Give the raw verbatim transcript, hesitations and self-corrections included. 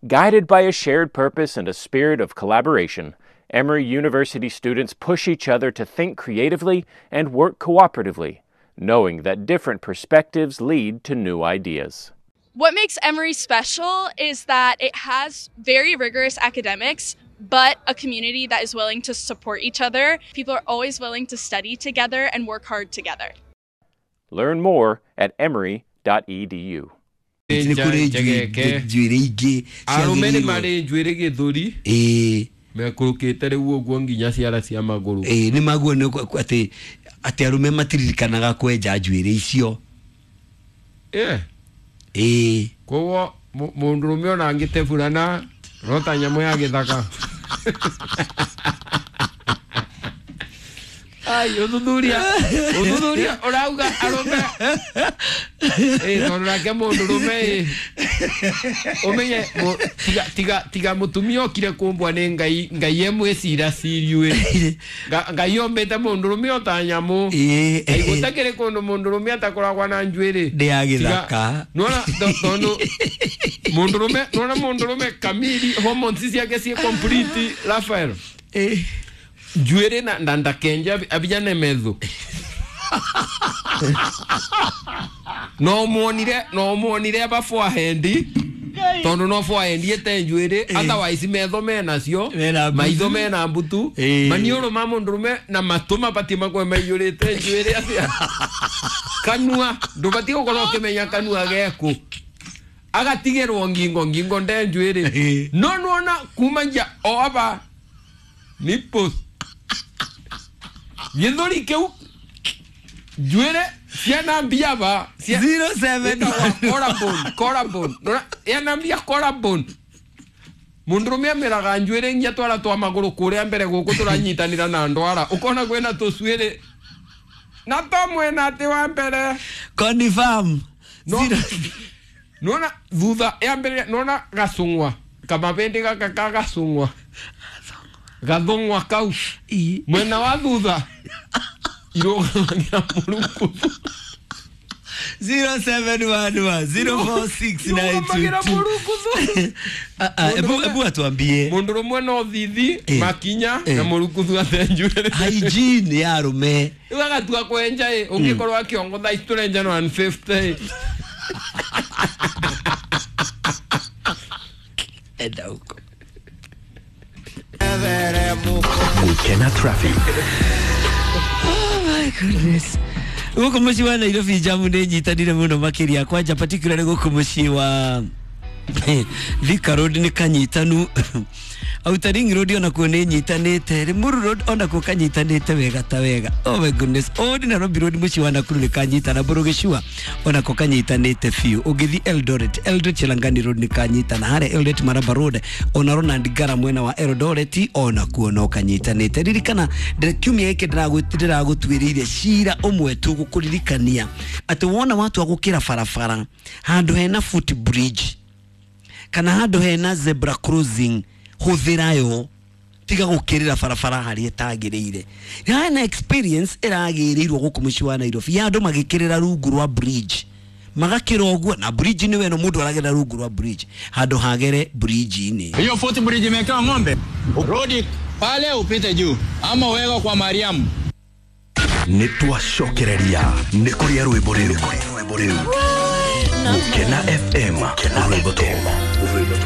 Guided by a shared purpose and a spirit of collaboration, Emory University students push each other to think creatively and work cooperatively, knowing that different perspectives lead to new ideas. What makes Emory special is that it has very rigorous academics, but a community that is willing to support each other. People are always willing to study together and work hard together. Learn more at emory dot e d u. Nĩ kũrĩ njuĩrĩ ingĩ arũme nĩ marĩ njuĩrĩ gĩthũri ĩĩ mekũrũkĩte rĩu ũguo nginya ciara cia magũrũ. Ĩĩ nĩ maguo nĩ atĩ atĩ arũme matiririkanaga kwenja njuĩrĩ icio. Ĩĩ ĩĩ koguo mũndũrũme ona angĩteburana rota nyamũ ya gĩthaka. Ai, ũthuthuria ũthuthuria ũrauga arũme ĩĩ tondũ nake mũndũrũme ĩ ũmenye tiga tiga tiga mũtumia okire kũmbwa nĩ Ngai Ngai emwĩcira ciriu ĩ Ngai ombĩte mũndũrũme o ta nyamũ. Ĩĩ gũtakĩrĩ kũndũ mũndũrũme atakoragwo na njuĩrĩ ndĩ ya gĩthaka. Nĩwona tondũ mũndũrũme nĩwona mũndũrũme kamiri hormones ciake ciĩ complete Raphael. Ĩĩ njuĩrĩ na na ndakenja abijane metho no muonire no muonire aba forehead tondu no forehead ete njuĩrĩ otherwise metho menacio maitho mena mbutu maniũrũ ma mũndũrũme na matũ mabatie makorwo maiyũrĩte njuĩrĩ atia kanua ndũbatie gũkorwo ũkĩmenya kanua geku agatigĩrwo ngingo ngingo nde njuĩrĩ no nĩwona kuma nja o aba nipples gĩthũri kĩu njuĩrĩ ciana mbia ba zero seven collarbone collarbone yana mbia collarbone mũndũrũme ameraga njuĩrĩ nginya twara twa magũrũ kũrĩa mbere gũkũ tũranyitanĩra na ndwara ũkona kwĩna tũcuĩrĩ na to mwena atĩ wa mbere confirm nona thutha ya mbere nona gacung'wa kamabĩndĩ gaka ka gacung'wa gathung'wa kau mwena wa thutha irũgamagira mũrukuthu zero seven one one zero four six nine two two. Ebu ebu atuambie mũndũrũme no thithi makinya na mũrukuthu ate njuĩrĩ hygiene ya arũme rĩu agatua kwenja ĩ ũngĩkorwo akĩongo thaa ici tũrenja one fifty enda huko. Gukena traffic. Oh my goodness. Gũkũ mũciĩ wa Nairobi jamu nĩ nyitanire mũno makĩria kwanja particularly gũkũ mũciĩ wa Thika Road nĩ kanyitanu Outer Ring Road onakuo nĩ nyitanĩte Limuru Road onakuo kanyitanĩte wega ta wega. Oh my goodness. Old Nairobi Road mũciĩ wa Nakuru nĩ kanyitana Burugicua onako kanyitanĩte biũ. Ũngĩthiĩ Eldoret Eldoret Chelangani Road nĩ kanyitana harĩa Eldoret Maraba Road ona Ronald Ngara mwena wa Eldoret onakuo no kanyitanĩte. Ririkana kiumia gĩkĩ ndĩragũtuĩrĩire cira ũmwe tu gũkũririkania atĩ wona watua gũkĩra barabara handũ hena foot bridge kana handũ hena zebra crossing hũthĩra yo tiga gũkĩrĩra barabara harĩa ĩtagĩrĩire. Hena experience ĩragĩrĩirwo gũkũ mũciĩ wa Nairobi ya andũ magĩkĩrĩra rungu rwa bridge magakĩra ũguo na bridge nĩ weno mũndũ aragera rungu rwa bridge handũ hagere bridge-inĩ. Hiyo foot bridge imewekewa ng'ombe rudi pale upite juu ama uweka kwa Mariamu. Nĩ twacokereria nĩ kũrĩa rwĩmbo rĩu Gukena F M rwĩmbo.